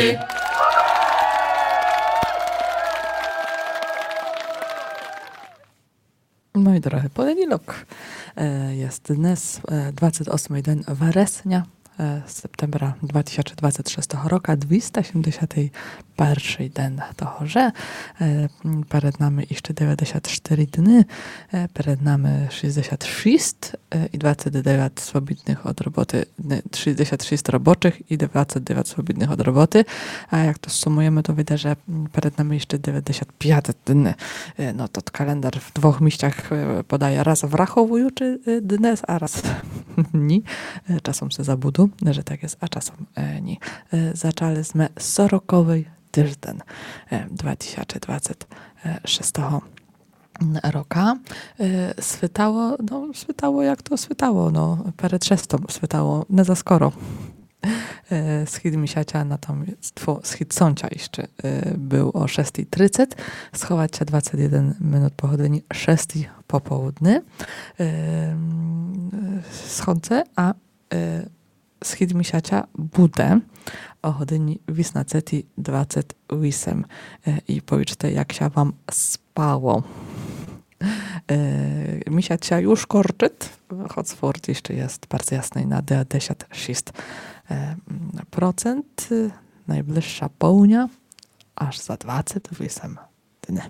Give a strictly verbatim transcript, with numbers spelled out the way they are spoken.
Мої дорогы, понеділок. Е, єст днес, е, двадцет осмый ден вересня, е, септембра два тисячы двадцет шестого рока, двіста сімдесятый першый ден того же. Е, м, перед нами іщы девятдесят штыри дни, е, перед нами шістдесят шіст, е, і двадцет девят свобідных од роботы, не, шістдесят шіст робочых і двадцет девят свобідных од роботы. А як то сумуєме, то выйде, же, м, перед нами іщы девятдесят пят дни. Е, но, тот календар в двох місцях, е, подає раз враховуючы, е, днес, а раз ні. Е, часом се забуду, же так єст, а часом, е, ні. Е, зачали зме сороковый тыжден, е, два тисячы двадцет шестого рока. Е, світало, но, світало, як то світало, но, перед шестом світало, не за скоро. Е, схід місяця натоміст, тьфу, схід сонця іщы, е, был о шестій тридцет, сховат ся двадцет єден минут по годині шестій пополудни. Е, м, сонце, а, е, схід місяця буде о годині вісемнадцетій двадцет вісем. Е, і повічте, як ся вам спало. Е, місяц ся юж корчыт, хоц фурт іщы єст барз ясный на девятдесят шіст, е, м, процент. Е, найближша полня аж за двадцет вісем дни.